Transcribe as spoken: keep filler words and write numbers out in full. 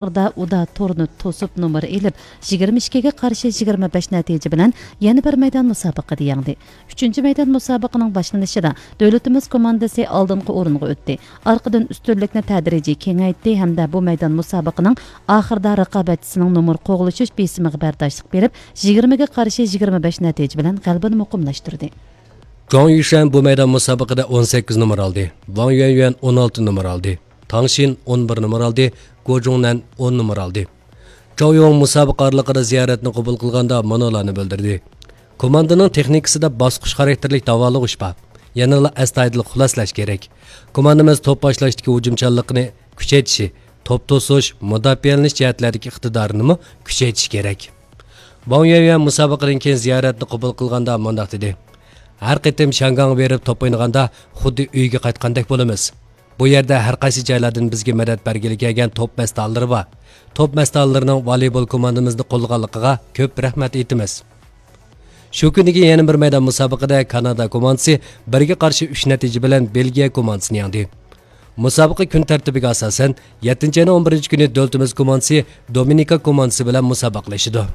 ئاخىردا ئۇدا تورنى توسۇپ نومۇر ئېلىپ، يىگىرمە ئىككىگە قارشى يىگىرمە بەش نەتىجە بىلەن يەنە بىر مەيدان مۇسابىقىدە يەڭدى. ئۈچىنچى مەيدان مۇسابىقىنىڭ باشلىنىشىدا دۆلىتىمىز كوماندىسى ئالدىنقى ئورۇنغا ئۆتتى. ئارقىدىن ئۈستۈنلۈكنى تەدرىجىي كېڭەيتتى ھەمدە بۇ مەيدان مۇسابىقىنىڭ ئاخىرىدا رىقابەتچىسىنىڭ نومۇر قوغلىشىش بېسىمىغا بەرداشلىق بېرىپ، يىگىرمىگە قارشى يىگىرمە بەش نەتىجە بىلەن غەلىبىنى مۇقىملاشتۇردى. جاڭ يۈشەن بۇ مەيدان مۇسابىقىدە ئون سەككىز نومۇر ئالدى. ۋاڭ يۈەنيۈەن ئون ئالتە نومۇر ئالدى. تاڭ شىن ئون بىر نومۇر ئالدى. گو جۇڭنەن ئون نومۇر ئالدى. چاۋ يوڭ مۇسابىقە ئارىلىقىدا زىيارەتنى قوبۇل قىلغاندا مۇنۇلارنى بىلدۈردى: كوماندىنىڭ تېخنىكىسىدا باسقۇچ خاراكتېرلىك داۋالىغۇش بار. يەنىلا ئەستايىدىل خۇلاسلەش كېرەك. كوماندىمىز توپ باشلاشتىكى ھۇجۇمچانلىقىنى كۈچەيتىشى، توپ توسۇش، مۇداپىئەلىنىش جەھەتلەردىكى ئىقتىدارىنىمۇ كۈچەيتىشى كېرەك. ۋاڭ يۈەنيۈەن مۇسابىقىدىن كېيىن زىيارەتنى قوبۇل قىلغاندا مۇنداق دېدى: ھەر قېتىم شياڭگاڭغا بېرىپ توپ ئوينىغاندا خۇددى ئۆيگە قايتقاندەك بولىمىز. بۇ يەردە ھەر قايسى جايلاردىن بىزگە مەدەت بەرگىلى كەلگەن توپ مەستانىلىرى بار. توپ مەستانىلىرىنىڭ ۋالىبول كوماندىمىزنى قوللىغانلىقىغا كۆپ رەھمەت ئېيتىمىز. شۇ كۈنىگە يەنە بىر مەيدان مۇسابىقىدە كانادا كوماندىسى بىرگە قارشى ئۈچ نەتىجە بىلەن بېلگىيە كوماندىسىنى يەڭدى. مۇسابىقە كۈن تەرتىپىگە ئاساسەن، يەتتىنچى ئاينىڭ ئون بىرىنچى كۈنى دۆلىتىمىز كوماندىسى دومىنىكا كوماندىسى بىلەن مۇسابىقىلىشىدۇ.